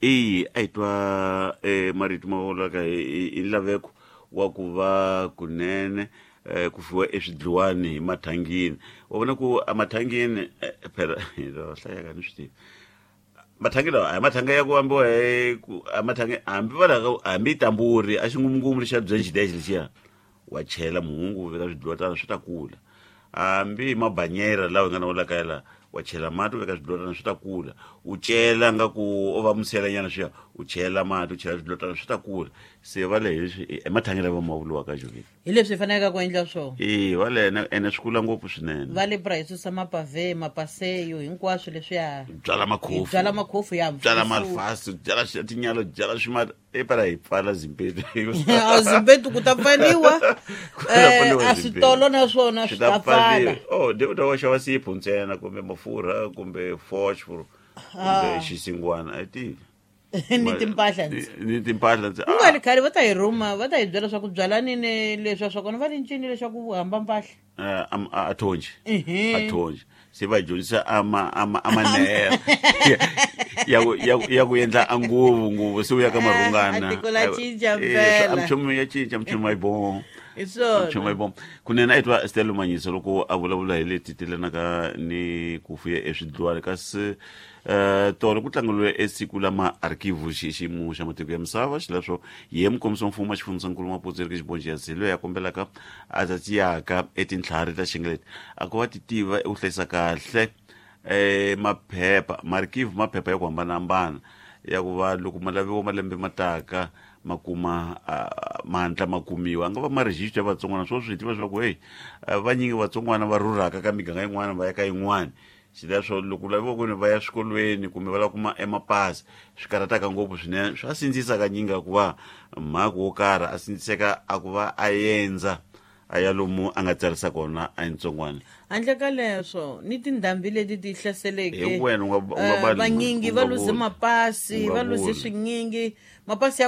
I a hi twa marito ma vulaka hi nlaveko wa ku va kunene ku fiwa eswidliwani hi mathangini. Wa vona ku emathangini phela hlayaka ni swi tivi mathangi lawa a hi mathanga ya ku ambiwa hi ku a mathangi hambi va laka hambi tamburi a xingumungumu lexiya bya xidexe lexiya wa chela muhungu u veka swidliwa tana swi ta kula hambi hi mabanyera lawa hi nga na wona kaya laha wa chela mati u veka swidlotana swi ta kula u cela nga ku o va muselanyana swiya u chela mati u chela swidlotana swi ta kula se va le hi emathangi lava ma vuriwaka jovini hi leswi hi faneleke ku endla swona e va le ene swi kula ngopfu swinene va le bra hi susa mapave mapaseyo hinkwaswo leswiya byala makhofu byala makhofu ya byala malfasi byala tinyalo byala swimata e para hi pfala zimpetu a zimpetu ku ta pfaliwa a switolo na swona swi ta pfala oh de ta wa xava sipho ntsena kumbe mafurha kumbe phosphor kumbe xisingwana a tivi ni timpahla ni timpahla ndzi ku nga ri khale va ta hi rhuma va ta hi byela swa ku byalani ni leswa swa kona va ri ncini leswaku hamba mpahla a thonji a thonji se va dyondzisa amanera ya ku endla a nguvu nguvu se u ya ka marhungana tiko la cinca mpela mchumu ya cinca mchumu ayi bo hi swona mchumu ayi bo kunene a yi twa Stella Manyisa loko a vulavula hi leti telanaka ni ku fuya eswidliwani kasi tolo ku tlangeriwe esiku la maarkivu xiyimo xa matiko ya misava xileswo ye mukomisi wa mfumo wa xifundzankulu Maputsu Eric Xibonji ya Zilo ya kombelaka a tsatiyaka etintlhari ta xingeleti a ku va ti tiva eku hlayisa kahle maphepha maarkivu maphepha ya ku hambanahambana ya ku va loko ma laviwa malembe ma taka ma kuma mandla ma kumiwa a nga va ma register ya vatsongwana swo swi tiva swa ku hey vanyingi vatsongwana va rhurhaka ka miganga yin'wana va ya ka yin'wana xileswo loko laviwa ku ni va ya swikolweni kumbe va lava kuma emapasi swi karhataka ngopfu swinene swa sindzisa kanyingi ku va mhaka wo karhi a sindziseka a ku va a endza a ya lomu a nga tsarisa kona a yintsongwana handle ka leswo ni tindhambi leti ti hlaseleke hi wena u nga vanyingi va luze mapasi va luze swinyingi mapasi ya